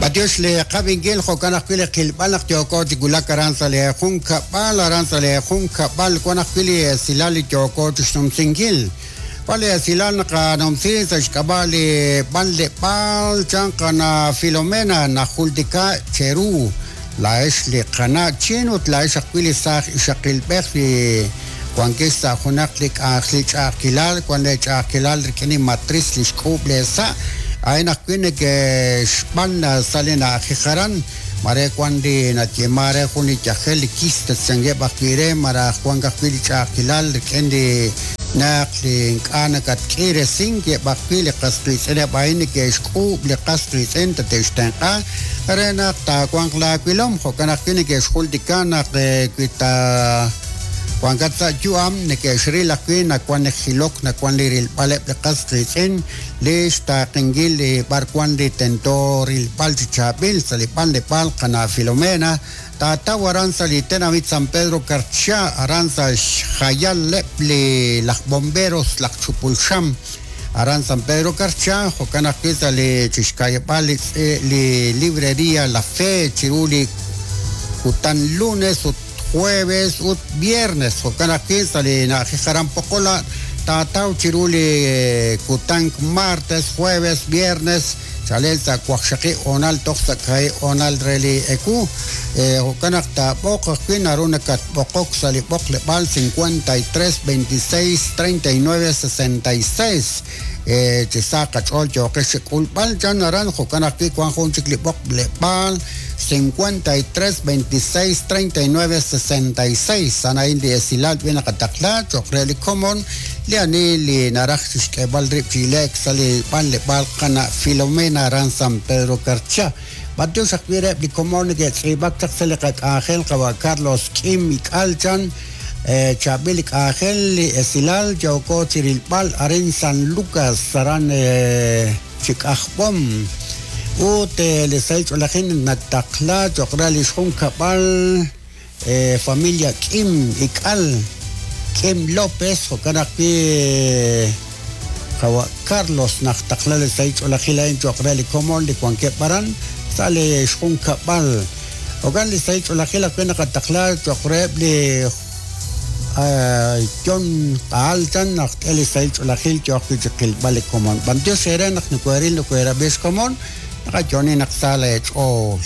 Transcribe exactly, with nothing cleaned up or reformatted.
B'antiox li qab'inkil jo'kan ajwi' li qilb'al naq yooko chi wulak aran sa' li junkab'al, aran sa' li junkab'al wan ajwi' li esilal li yooko chi xnumsinkil. Wan li esilal naqanumsi sa' xk'ab'a' li b'anleb'aal chan qana Filomena najultika cheru laa'ex li qana' chin ut laa'ex ajwi' li saaj ixaqilb'ej li wankex sa' junaq li k'anjel li ch'a'ajkilal, wan li ch'a'ajkilal rik'in li matriz li xk'uub' le sa' a'in ajwi' neke'xb'an sa' li na'ajej aran mare wan li nayeema re jun li yajel li quistes chankeb' ajwi' re maraj wan ajwi' li ch'a'ajkilal rik'in li naq li ink'a' nakatk'iresink eb' ajwi' li qas qiitz'ineb' a'in neke'xk'uub' li qas qiitz'in tate'xtenq'a re naq taawanq laawilom jo'kan ajwi' neke'xjultika naq wi ta wankat sa' yu'am neke'xril ajwi' nawan li jilok nawan li rilb'aleb' li qas qiitz'in li xtaaqenkil li b'ar wan li tento rilb'al chi chaab'il sa' li b'anleb'aal qana' Filomena taataw aran sa' li tenamit San Pedro Carchá aran sa' xjayaleb' li laj bomberos laj chupulxam aran San Pedro Carchá jo'kan ajwi' sa' li chixka'yab'al li li librería La Fe chiru li kutan lunes ut jueves ut viernes jo'kan ajwi' sa' li na'ajej aran Pokola taataw chiru li kutan martes jueves viernes chalen sa' waqxaqib' honal toj sa' kaahib' honal re li ewu jo'kan naq taab'oq ajwi' naru nakatb'oqok sa' li b'oqleb'aal cincuenta y tres veintiséis treinta y nueve sesenta y seis chi sa' qach'ool yooqex chi k'ulb'al chan aran jo'kan ajwi' wan jun chik li b'oqleb'aal cincuenta y tres veintiséis treinta y nueve sesenta y seis a'in li esilal b'i naqataqla cho'q re li komon li ani li naraj chixk'eeb'al rib' chi ile'k sa' li b'anleb'aal qana' Filomena aran San Pedro Carchá. B'antiox ajwi' reheb' li komon neke'tz'iib'ak chaq sa' li qak'anjel qawa' Carlos K'im Ik'al chan chaab'il li k'anjel li esilal yooko chi rilb'al arin San Lucas aran chi k'ajb'om ut li sahil ch'oolejil nataqla cho'q re li xjunkab'al familia K'im Ik'al K'im López jo'kan ajwi' qawa' Carlos naqtaqla li sahil ch'oolejil a'in cho'q re li komon li wankeb' aran sa' li xjunkab'al jo'kan li sahil ch'oolejil ajwi' naqataqla cho'q reheb' li yon q'aal chan naq t'e li sahil ch'oolejil yooq wi' chi qilb'al li komon b'antiox eere naq nokoheril nokoherab'i xkomon naqayoni naq sa leech'ool.